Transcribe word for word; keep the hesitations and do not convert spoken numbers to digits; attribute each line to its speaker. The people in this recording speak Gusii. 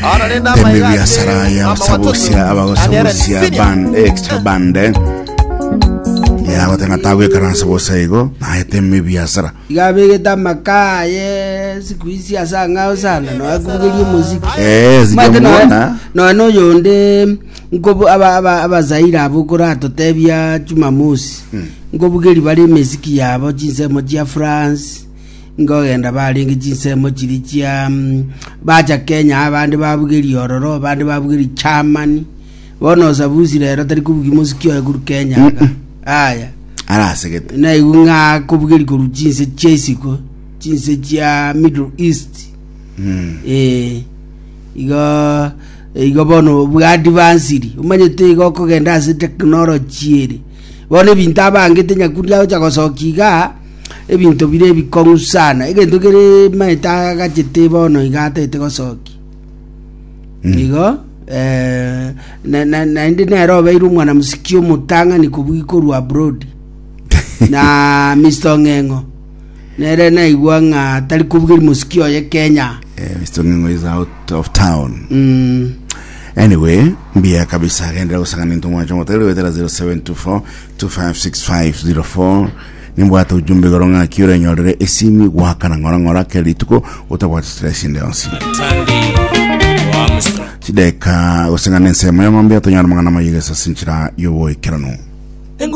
Speaker 1: Temi biasara ya osabusia abagosabusia band extra band ya gotenga tagwekaransa bosa igo naye temi biasara.
Speaker 2: Iga abegete amakaye siku hizi ase ang'ao sana noakubugeria omoziki.
Speaker 1: Eh,
Speaker 2: Maete noe
Speaker 1: sijamwona.
Speaker 2: Noe noyonde nkobu aba aba abazaire abo koratotebia Jumamosi nkobugeri bare emesiki yabo chinsemo chia France, nkogenda barenge chinsemo chiri chia mm, bacha Kenya, abande babugeri ororo, abande babugeri Germany. Bono Osabusi rero tari kubugi mosiki oye koru Kenya iga aya.
Speaker 1: Arasegete.
Speaker 2: Naigu ng'a kobugeri koru chinse chia isiko, chinse chia Middle East.
Speaker 1: Mm.
Speaker 2: Eh, igo igo bono bwa advanced, omanyete igo okogenda ase technology ere bono ebinto abangete Nyakundi agocha gosokia iga ebinto bire ebikong'u sana, egento kere maete agachete bono iga atagete gosokia igo eh, na- na- naende nere obeire omwana musiki omotang'ani kobugi korwa abroad na Mr Ong'eng'o nere naigwa ng'a tari kobugeri musiki oye Kenya.
Speaker 1: Eh, Mister Ngingo is out of town.
Speaker 2: mm.
Speaker 1: Anyway, mbia kabisa agendera gusangana into mwacho moteri wetera zero seven two four two five six five zero four. Nimbwate ujumbe goro ng'aki orenyorere esimi gwakana ng'ora ng'ora kera rituko otabwate stress inde yonsi. Chideka gusangana ensemo ya mambia tonyara mang'ana mayegesa sinchira yoboikeranu.